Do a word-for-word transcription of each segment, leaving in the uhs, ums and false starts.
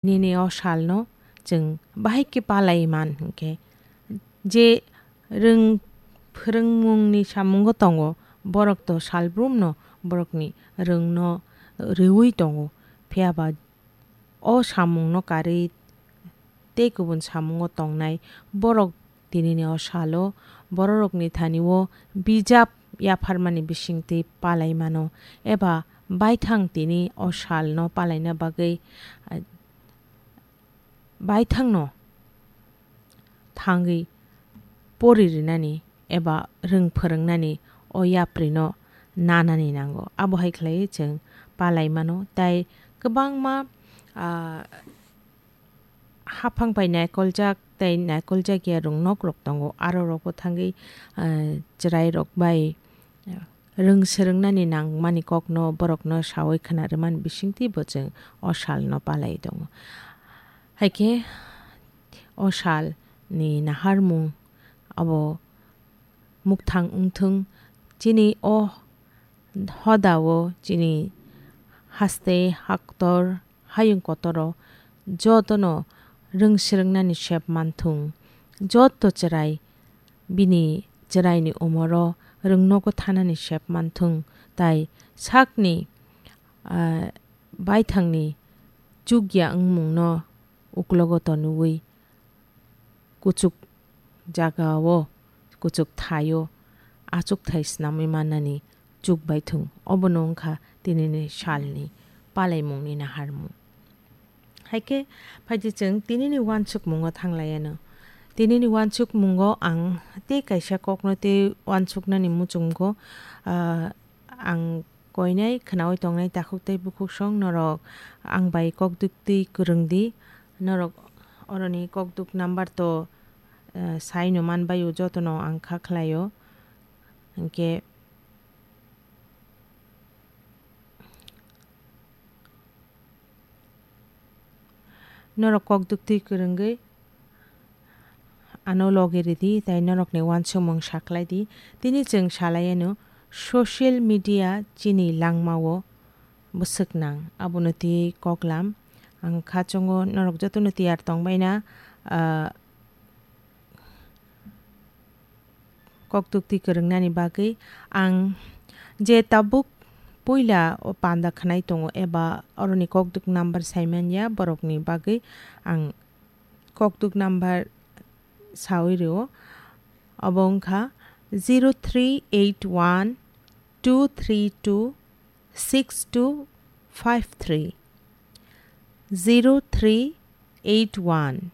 Nini o salno chwng bahai khe palai man hwnkhe, je rwng phwrwngmungni samungo tongo, borok to salbrumno borokni rwngno rwui tongo. Phiya ba o samungno karwi tei kubun samungo tongnai borok tinini o salo bororokni thani-o bijap yapharmani bisingtwi palai mano, eba baithang tini o salno palaina bagwi, ah, baithangno thangwi pori rinani eba rwng phwrwngnani o yaprino nanani nango. Abo hai khlaiwi chwng palai mano. Tai kwbangma, ah, haphang bai naikoljak tei naikoljak ya rwng nokrok tongo. Aro rokbo thangwi, ah, chwrairok bai, ah, rwng swrwngnani nangmani kokno borokno saui khna rwmani bisingtwi bo chwng o salno palai tongo. Haikhe o salni naharmung abo mukthang wngthung, chini o hodao chini haste haktor hayung kotoro jotono rwng swrwngnani sep manthung, joto chwrai bini chwraini umoro rwng nogo thanani sep manthung, tai sakni, ah, baithangni chukya wngmungno uklogo tonwi kuchuk jagao, kuchuk thaio achukthai snamwi mannani chuk bai thung. Obono wngkha tinini salni palaimungni naharmung. Haikhe phaidi chwng tinini uansukmungo thanglaianw. Tinini uansukmungo ang tei kaisa kokno tei uansuknani muchungo, ah, ang koinai khwnaui tongnai takhuk tei bukhuksong norok ang bai kok duktwi kwrwng di. Norok oroni kok duk number to, eh, saino manbaio, jotono ang kha khlaio. Hinkhe norok kok duktwi kwrwngwi ano logi ridi, tei norokni uansukmung sakhlai di. Tini chwng salai anw, social media chini langmao bwswk nang, abono twi koklam. Ang kha chwngo norok jotono tiyar tongbaina, ah, kok duktwi kwrwngnani bagwi. Ang je tabuk puila o panda khwnai tongo eba oroni kok duk number saimanya, borokni bagwi ang kok duk number saui rwo. Obo wngkha zero three eight one two three two six two five three, zero three eight one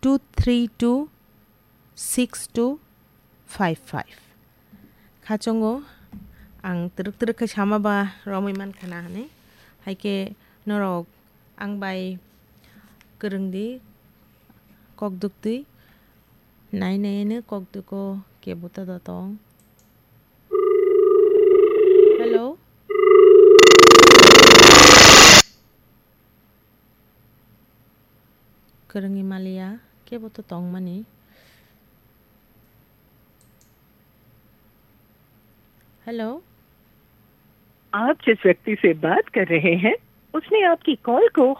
two three two six two five five. Khachongo ang twrwk twrwk khe sama ba romwi mankha na hwnwi. Haikhe norok ang bai kwrwng di, kok duktwi. Nai nai no kok dugo kebo ta da tong. Hello. Kwrwngwi maliya, kebo to tongmani. Hello. आप जिस व्यक्ति से बात कर रहे हैं, उसने आपकी कॉल को